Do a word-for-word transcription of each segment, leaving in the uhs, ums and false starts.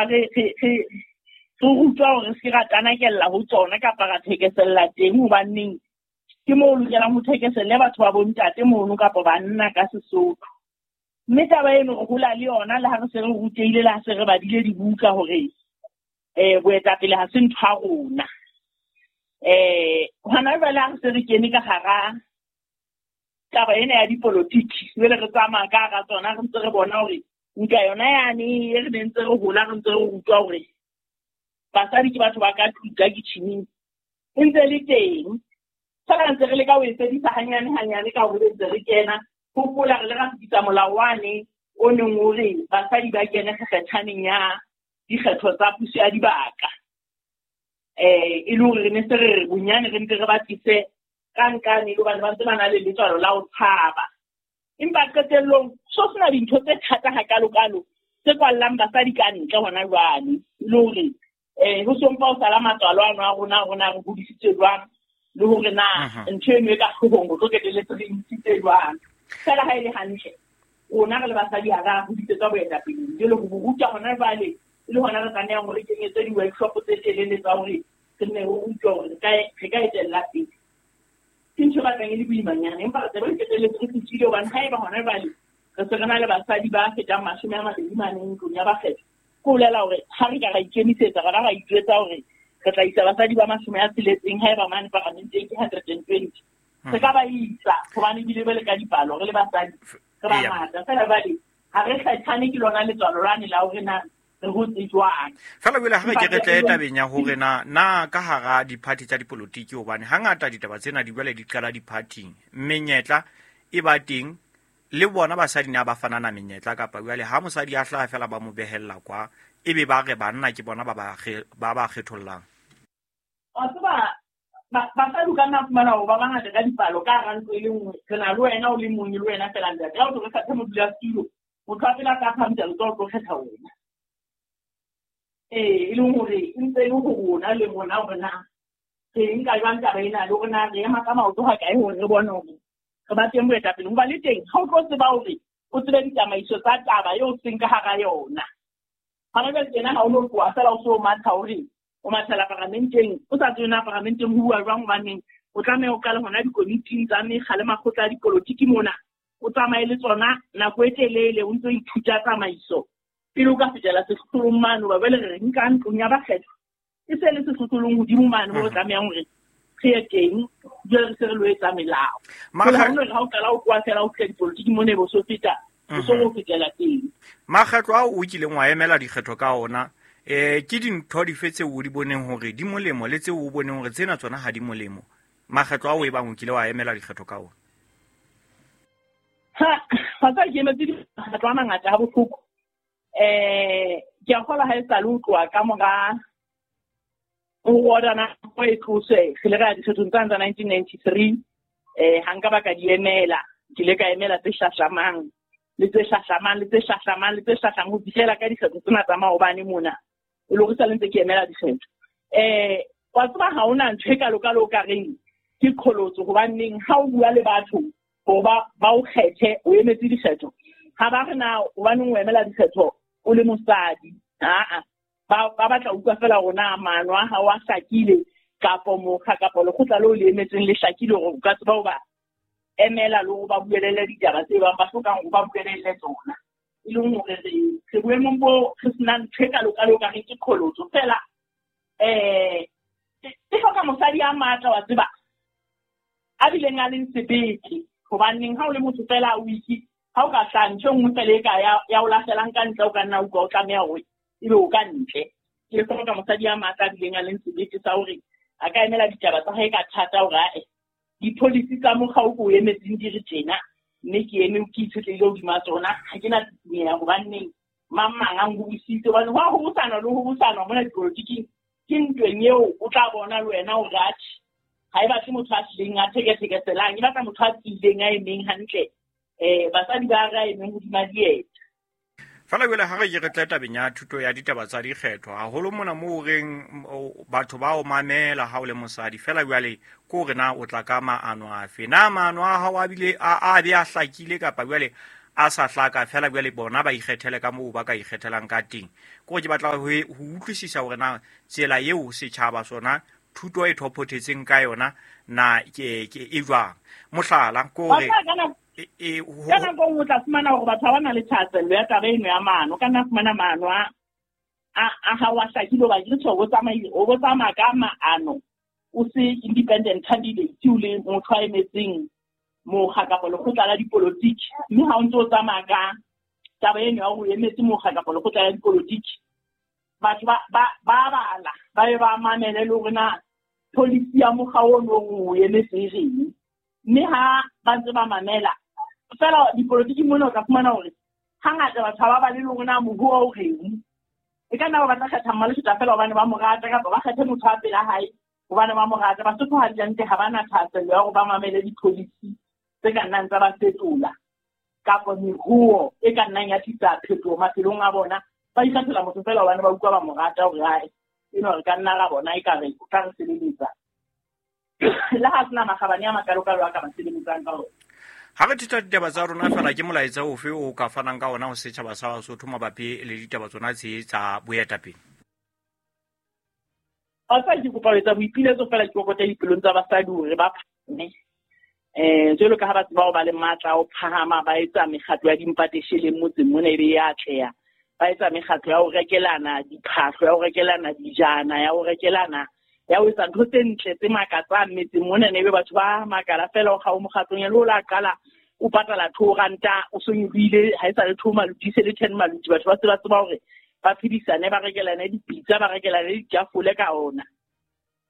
hola re re re re rutwa hore se ra tanakella ho tsona kapa ra thekesella teng, hobaneng ke moo o lokelang ho thekeselle batho ba bontate mono kapa banna ka Sesotho. Mme taba eno re hola le yona le ha re se re rutehile, le ha se re badile dibuka hore eh boetapele ha se ntho ya rona. Eh hona jwale ha re se re kene ka hara taba ena ya dipolotiki, jwale re tsamaya ka hara tsona, re ntse re bona hore nka yona yane e re ne ntse re hola re ntse re rutwa hore basadi ke batho ba ka tlung ka kitchening e ntse le teng. Fela ntse re leka ho e fedisa hanyane hanyane ka hore ntse re kena. Hopola re le ra fetisa molao wane o neng o re basadi ba kene kgethaneng ya dikgetho tsa puso ya dibaka. Eh e le hore re ne se re re bonyane re ntse re ba tlise ka nkane le hobane ba ntse ba na le letswalo la ho tshaba. Empa qetellong so sena dintho tse thata hakalokalo tse kwallang basadi ka ntle hona jwale. E le hore eh ho so mpa o sala matswalo ano a rona, rona re hodisitswe jwang, le hore na ntho eno e ka hloohong ho tlo qetelletse re ntshitse jwang. Fela ha e le hantle rona re le basadi ha ra hodisetswa boetapeleng, jwale ho ruta hona jwale e le hona re tlamehang hore re kenyetse di-workshop tse telele tsa hore re nne re rutwe hore re ka re ka etella pele. Ke ntho e batlang e le boimanyana, empa re tsebe re qetelletse re fihlile hobane haeba hona jwale re se re na le basadi ba fetang mashome a mabedi mane ntlong ya bakgetho, ke ho bolela hore ha re ka ra ikemisetsa ra ba ra ijwetsa hore re tla isa basadi ba mashome a tsheletseng haeba mane paramenteng ke hundred and twenty, re ka ba isa hobane ebile be le ka dipalo re le basadi re bangata. Fela jwale ha re kgethane ke lona letswalo lane la hore na re hotse jwang. Fela jwale ha re ke re tle tabeng ya hore na na ka hara di-party tsa dipolotiki, hobane hangata ditaba tsena di jwale di qala di-party-ing, menyetla e ba teng le bona basadi na ba fanana menyetla, kapa jwale ha mosadi a hlaha fela ba mo behella kwa, ebe ba re banna ke bona ba ba ba ba kgethollang. Wa tseba basadi o ka nna fumana hore ba bangata ka dipalo ka hara ntlo e le nngwe, re na le wena o le mong le wena fela ntate. Ha o tlo re kgethe modulasetulo, motho wa pele a tla phahamisa letsoho o tlo kgetha wena. Ee, e leng hore e ntse e le ho rona le rona hore na re nka jwang taba ena, le hore na re ema ka maoto ha kae hore re bone hore re ba teng boetapele. Hoba le teng ha o tlo tseba hore o tsebe ditsamaiso tsa taba eo o seng ka hara yona. Hona jwale tjena ha o no tloha fela o so matha hore o mathela paramenteng, o sa tsebe na paramenteng ho bua jwang, hobaneng o tlameha o qale hona dikomiting tsa mekga le makgotla a dipolotiki mona, o tsamaye le tsona nako e telele o ntso ithuta tsamaiso pele o ka fetela sehlohlolong mane. Hoba jwale re nka ntlong ya bakgetho e se le sehlohlolong hodimo mane moo re tlamehang hore re ye teng, jwale re se re lo etsa melao. Jwale ha o no re ha o qala o tloha fela o fihla dipolotiki mona e be o so feta, o so o fetela teng. Makgetlo ao o kileng wa emela dikgetho ka ona, eh ke dintho dife tseo o di boneng hore di molemo le tseo o boneng hore tsena tsona ha di molemo, makgetlo ao e bang o kile wa emela dikgetho ka ona? Ha ha tsa ke emetse dikgetho a mangata ha bohloko. Eh ke a kgolwa ha e sa le ho tloha ka mora ho order ho e tloswe, re ile ra ya dikgethong tsane tsa nineteen ninety-three, eh ha nka ba ka di emela, ke ile ka emela tse hlahlamang le tse hlahlamang le tse hlahlamang le tse hlahlamang ho fihlela ka dikgetho tsena tsa maobane mona, e le hore sa le ntse ke emela dikgetho. Eh wa tseba ha hona ntho e kalokalo o ka reng ke qholotso, hobaneng ha o bua le batho hore ba ba o kgethe o emetse dikgetho, ha ba re na hobaneng o emela dikgetho o le mosadi, aa ba ba batla utlwa fela hore na maano a hao a hlakile kapo mokga kapo lekgotla leo le emetseng le hlakile hore o ka tseba ho ba emela le hore ba buelele ditaba tse bang ba hlokang hore ba buelele tsona. E leng hore re re boemong bo re senang ntho e kalokalo o ka reng ke qholotso fela. Eh e hloka mosadi a matla wa tseba, a bileng a leng sebete, hobaneng ha o le motho fela o itse ha o ka hlaha ntho e nngwe fela e ka ya ya o lahlelang ka ntle, o ka nna utlwa o tlameha hore ebe o ka ntle. Ke hloka mosadi a matla a bileng a leng sebete sa hore a ka emela ditaba tsa hae ka thata hore ae di-policy tsa mokga o ko o emetseng di re tjena, mme ke eme ke itshetlehile hodima tsona, ha ke na tsitsinya hobaneng mang mang a nbusitse. Hobane ho a hobosana le ho hobosana mona dipolotiking ke ntweng eo o tla bona le wena hore atjhe ha e batle motho a tlileng a thekethekeselang, e batla motho a tiileng a emeng hantle. Eh basadi ba re a emeng hodima dieta. Fela jwale ha re ke re tle tabeng ya thuto ya ditaba tsa dikgetho, haholo mona moo reng batho ba o mamela ha o le mosadi, fela jwale ke hore na o tla ka maano afe, na maano a hao a bile a a be a hlakile kapa jwale a sa hlaka fela jwale bona ba ikgethele ka moo ba ka ikgethelang ka teng. Ke gore ke batla ho ho utlwisisa hore na tsela eo setjhaba sona thuto e thophothetseng ka yona na ke ke e jwang. Mohlala ke hore e e ka nako o tla fumana hore batho ba na le thahasello ya taba eno ya maano, ka nna fumana maano a a a ha wa hlakile hoba ke tjho o tsamaile o bo tsamaya ka maano o se independent candidate o le motho a emetseng mokga kapa lekgotla la dipolotiki, mme ha o ntse o tsamaya ka taba eno ya hore o emetse mokga kapa lekgotla la dipolotiki, batho ba ba ba bala ba be ba mamele le hore na policy ya mokga ono o emetse e reng, mme ha ba ntse ba mamela fela dipolotiki mona o tla fumana hore hangata batho ha ba bale le hore na moruo o reng. E ka nna ba batla kgetha Mmaleshota fela hobane ba mo rata, kapa ba kgethe motho wa pela hae hobane ba mo rata. Basotho hantle ha ba na thahasello ya hore ba mamele di-policy tse ka nnang tsa ba fetola kapa meruo e ka nnang ya tlisa phetoho maphelong a bona. Ba ikgethela motho fela hobane ba utlwa ba mo rata hore hae eno re ka nna ra bona ekare o tla re sebeletsa, le ha sena makgabane a makalokalo a ka ba sebeletsang ka ona. Ha re thitha ditaba tsa rona fela, ke molaetsa ofe o ka fanang ka ona ho setjhaba sa Basotho mabapi le ditaba tsona tse tsa boetapele? Basadi ke kopa ho etsa boipiletso fela ke kokote dipelong tsa basadi hore ba phahame. Eh jwalo ka ha ba tseba ho ba le matla a ho phahama, ba etsa mekgatlo ya dimpatesheleng motseng mona ebe ya atleha, ba etsa mekgatlo ya ho rekelana diphahlo, ya ho rekelana dijana, ya ho rekelana ya ho etsa ntho tse ntle tse makatsang metseng mona, ebe batho ba makala fela o kga o mokgatlong ya le o la qala o patala two ranta o so nyolohile ha e sa le two maluti se le ten maluti. Batho ba se ba tseba hore ba phedisane, ba rekelane dipitsa, ba rekelane ditafole ka ona.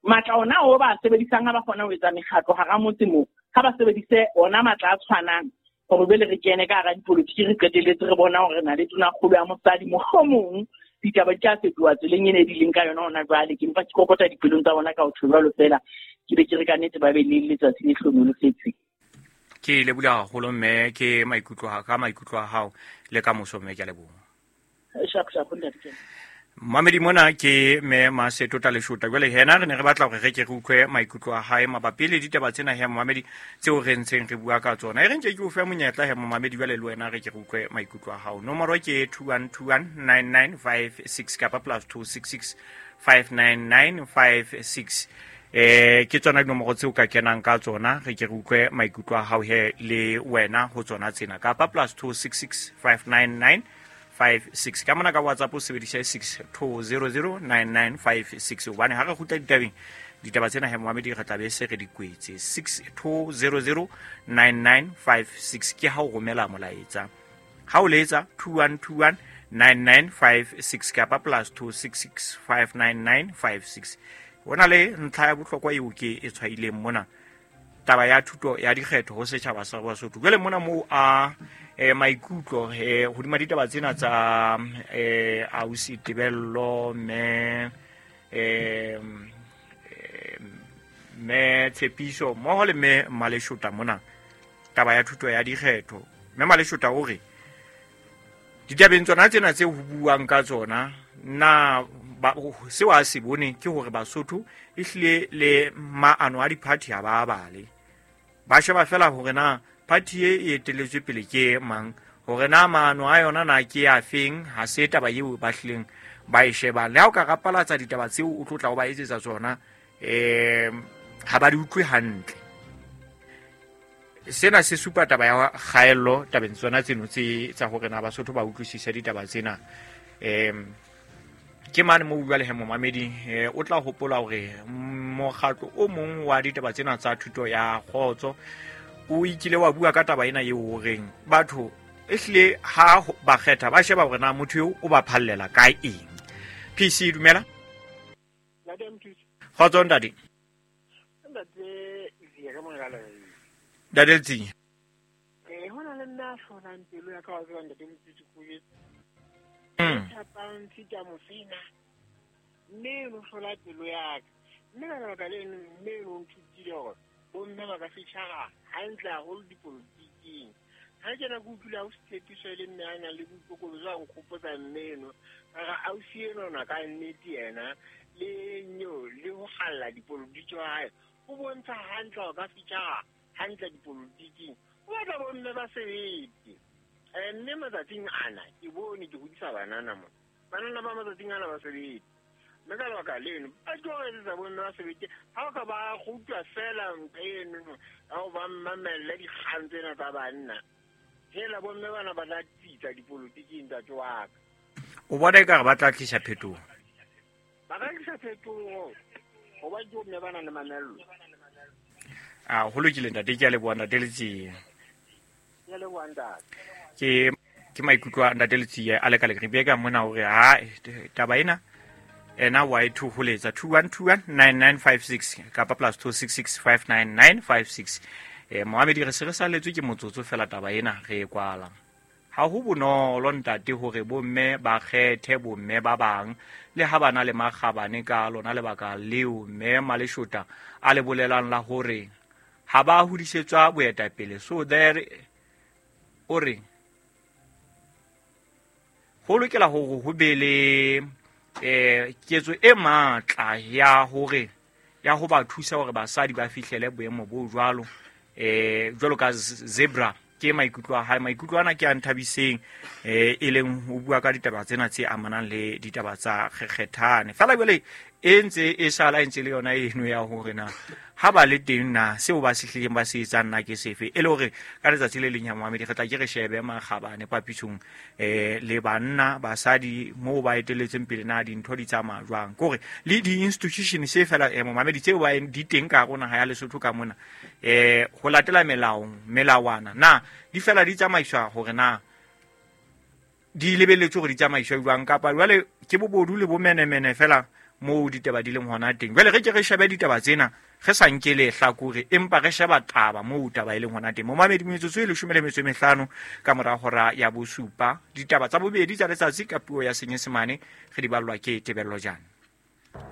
Matla ona o ba sebedisang ha ba kgona ho etsa mekgatlo hara motse moo, ha ba sebedise ona matla a tshwanang hore bele re kene ka hara dipolotiki, re qetelletse re bona hore re na le tonakgolo ya mosadi. Mohlomong ditaba di tla fetoha tseleng ena e di leng ka yona hona jwale. Ke mpa ke kokota dipelong tsa bona ka ho tjho jwalo fela, ke be ke re ka nnete ba be le letsatsi le hlohonolofetseng. Ke leboha haholo mme, ke maikutlo a ka maikutlo a hao le ka moso mme, ke a leboha. Sharp sharp ntate. Mamedi mona ke mme Maseto Taleshota. Jwale hena re ne re batla hore re ke re utlwe maikutlo a hae mabapi le ditaba tsena he mamedi tseo re ntseng re bua ka tsona. E re nke ke o fe monyetla he mamedi jwale le wena re ke re utlwe maikutlo a hao. Nomoro ke two one two one nine nine five six kapa plus two six six five nine nine five six. Eh ke tsona dinomoro tseo ka kenang ka tsona, re ke re utlwe maikutlo a hao he le wena ho tsona tsena kapa plus two six six five nine nine five six. Ka mona ka WhatsApp o sebedisa six two zero zero nine nine five six. Hobane ha re kgutla ditabeng, ditaba tsena he momamedi re tla be se re di kwetse. six two zero zero nine nine five six ke ha o romela molaetsa. Ha o letsa two one two one nine nine five six kapa plus two six six five nine nine five six. Hona le ntlha ya bohlokwa eo ke e tshwaileng mona, taba ya thuto ya dikgetho ho setjhaba sa Basotho. Jwale mona moo a eh maikutlo eh hodima ditaba tsena tsa eh ausi Tebello mme eh mme Tshepiso mmoho le mme Maleshota mona, taba ya thuto ya dikgetho. Mme Maleshota o re ditabeng tsona tsena tse ho buang ka tsona na seo a se bone ke hore Basotho ehlile le maano a di-party ha ba bale, ba sheba fela hore na party e e etelletswe pele ke mang, hore na maano a yona na ke a feng. Ha se taba eo ba hlileng ba e shebang. Le ha o ka rapalatsa ditaba tseo o tlo tla o ba etsetsa tsona, um ha ba di utlwe hantle. Sena se supa taba ya kgaello tabeng tsona tseno tse tsa hore na Basotho ba utlwisise ditaba tsena. Um ke mane mo bua le he momamedi, o tla hopola hore mokgatlo o mong wa ditaba tsena tsa thuto ya kgotso o ikile wa bua ka taba ena eo horeng batho ehlile ha ba kgetha ba sheba hore na motho eo o ba phallela ka eng. P C dumela. Kgotso ntate. Ntate Letsie. Eh hona le nna hlolang pelo ya ka wa tseba ntate Mothusi Kgobetsi. Thapang Sita Mofina. Mme no hlola pelo ya ka. Mme ka lebaka leno mme no nthutile hore bomme ba ka fitjhara hantle haholo dipolotiking. Ha ke na ke utlwile ausi Tshepiso e le mme a nang le boikokobetso a nkgopotsa mme eno. Ka re ausi enona ka nnete yena le nyo le ho kgalla dipolotiki wa hae o bontsha hantle hore ka fitjhara hantle dipolotiking. O batla bomme ba sebete. Mme matsatsing ana ke bone ke hodisa banana mo. Banana ba matsatsing ana ba sebetse. Mme ka lebaka leno ba tlo etsetsa bomme ba sebetse. Ha o ka ba rutwa fela ntho eno ya ho ba mamelle dikgang tsena tsa banna. Hela bomme bana ba tla tsitsa dipolotiking ntate wa ka. O bona ekare ba tla tlisa phetoho? Ba ka tlisa phetoho hoba ke bomme ba nang le mamello. A ho lokile ntate, ke a leboha ntate Letsie. Ke a leboha ntate. Ke ke maikutlo a ntate Letsie a leka lekribe ka mona hore ha taba ena ena wa e thoholetsa two one two one nine nine five six kapa plus two six six five nine nine five six. Eh Mohamedi re se re saletswe ke motsotso fela taba ena re e kwala. Ha ho bonolo ntate hore bomme ba kgethe bomme ba bang le ha bana le makgabane ka lona lebaka leo mme Maleshota a le bolelang la hore ha ba hodisetswa boetapele. So there o re ho lokela hore ho be le eh ketso e matla ya hore ya ho ba thusa hore basadi ba fihlele boemo bo jwalo eh jwalo ka zebra. Ke maikutlo a hae, maikutlo ana ke a nthabiseng eh e leng ho bua ka ditaba tsena tse amanang le ditaba tsa kgekgethane. Fela jwale e ntse e sala e ntse le yona eno ya hore na ha ba le teng na seo ba se hlileng ba se etsang na ke sefe, e le hore ka letsatsi le leng ya Mohamedi re tla ke re shebe makgabane papisong eh le banna basadi moo ba eteletseng pele na dintho di tsamaya jwang, ke hore le di-institution se fela eh Mohamedi tseo ba di teng ka rona ha ya Lesotho ka mona eh ho latela melao melawana na di fela di tsamaiswa hore na di lebelletswe hore di tsamaiswa jwang, kapa jwale ke bobodu le bomenemene fela moo ditaba di leng hona teng. Jwale re ke re shebe ditaba tsena re sa nke lehlakore empa re sheba taba moo taba e leng hona teng. Momamedi metsotso e leshome le metso e mehlano ka mora hora ya bosupa, ditaba tsa bobedi tsa letsatsi ka puo ya Senyesemane re di ballwa ke Tebello Jane.